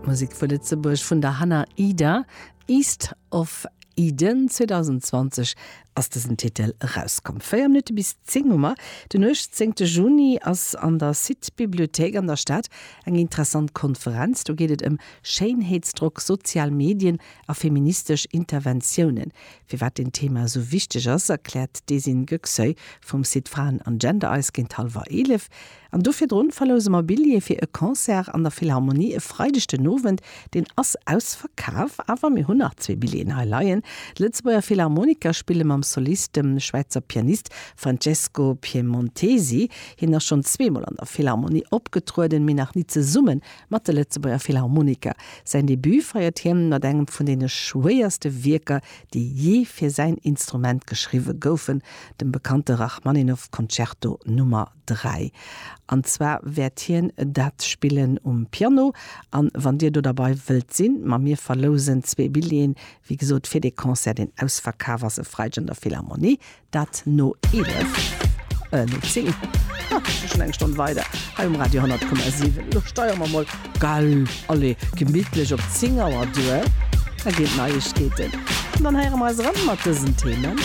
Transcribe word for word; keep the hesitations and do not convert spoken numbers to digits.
Musek vu Lëtzebuerg vun der Hannah Ida, East of Eden zweedausendzwanzeg ass dësen Titel erauskomm. Véier Minutte bis zéng hu mer. Den uechtzéngte Juni ass an der Site-Bibliothéik an der Stad eng interessant Konferenz. Do geet et ëm Schéinheetsdrock, sozial Medien a feministesch Interventiounen. Firwat deen Thema esou wichteg ass, erkläert d'Esin Göksoy vum Site Fraen an Gender eis géint hallwer eelef. An do virdrun verlouse mer Billjeeë fir e Concert an der Philharmonie e Freideg den Owend. Deen ass ausverkaf, awer mir hunn nach zwee Billjeeën hei leien. D'Lëtzebuerger Philharmoniker spille mam Solist, dem Schwäizer Pianist Francesco Piemontesi. Hien ass schonn zweemol an der Philharmonie opgetrueden, mee nach ni zesumme mat de Lëtzebuerger Philharmoniker. Säin Debut feiert hien mat engem vun deene schwéierste Wierker, déi jee fir säin Instrument geschriwwe goufen, dem bekannte Rachmaninoff-Concerto Nummer dräi. An zwar wäert hien dat spillen um Piano. An wann Dir do derbei wëllt sinn, ma mir verlousen zwee Billjeeën, wéi gesot, fir dee Concert, deen ausverkaf ass e Freideg an der Philharmonie, dat no eelef, äh, no zéng, ha, schon eng Stonn weider, hei um Radio honnert Komma siwen. Elo steiere mer mol, gell, allez, gemittlech op zéng Auer duer, da ginn d'Neiegkeeten. An dann héiere mer eis erëm mat dësen Themen.